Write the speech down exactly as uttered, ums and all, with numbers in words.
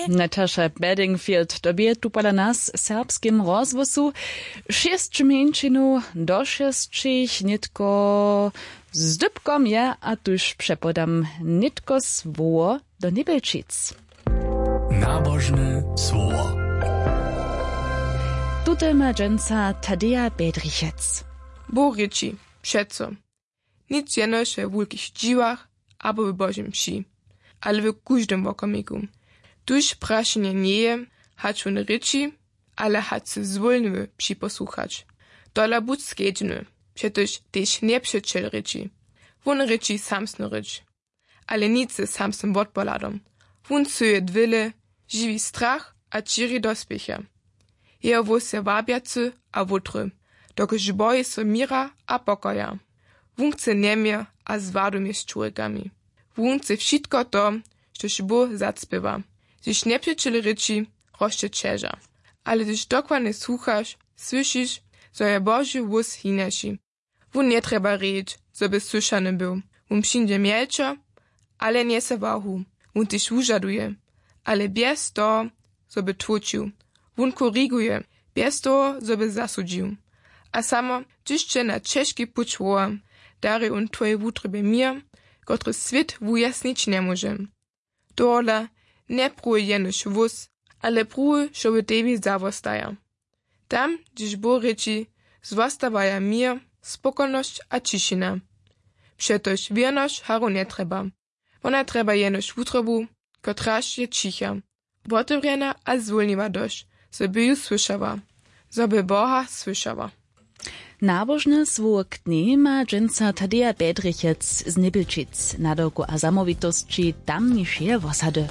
Natasza Bedingfield to bě tu pola nas w serbskim rozhłosu. Šěsć mjeńšinow do šěsćich nětko zdybkom je a tuž přepodam nětko słowo do Njebjelčic. Nabožne słowo. Tute ma dźensa Tadeja Bedrichec. Bóh rěči: přeco, nic jenož we wulkich dźiwach abo w Božej mši, ale w kóždym wokomiku. Tuž prašenje njeje, hač wón rěči, ale hač sy zwólniwy připosłuchać. Tola budź skedźbny, přetož tež njepřećel rěči. Wón rěči samsnu rěč, ale nic ze samsnym wotpohladom. Wón syje dwěle, žiwi strach a ćěri dospěchy. Jeho hłós je wabjacy a wutry, dokelž boji so měra a pokoja. Wón chce njeměr a zwadu mjez čurjekami. Wón chce wšitko to, štož Bóh zacpěwa. Hdyž njepřećel rěči, rosće ćeža. Ale hdyž dokładnje słuchaš, słyšiš, zo je Boži hłós hinaši. Wón njetrjeba rěč, zo by słyšany był. Wón přińdźe mjelčo, ale njese wahu. Wón tež wužaduje, ale bjez toho, zo by tłóčił. Wón koriguje, bjez toho, zo by zasudźił. A samo hdyž će na ćežki puć woła, dari wón twojej wutrobje měr, kotryž swět wujasnić njemóže. Tohodla njepruwuj jenož hłós, ale pruwuj, što w tebi zawostaja. Tam, hdźež Bóh rěči, zwostawaja měr, spokojnosć a ćišina. Přetož wěrnosć haru njetrjeba. Wona trjeba jenož wutrobu, kotraž je ćicha, wotewrjena a zwólniwa dosć, zo by ju słyšała, zo by Boha słyšała. Nabožne słowo k njej ma dźensa Tadeja Bedrichec z Njebjelčic, nadawku a zamołwitosći tamnišeje wosady.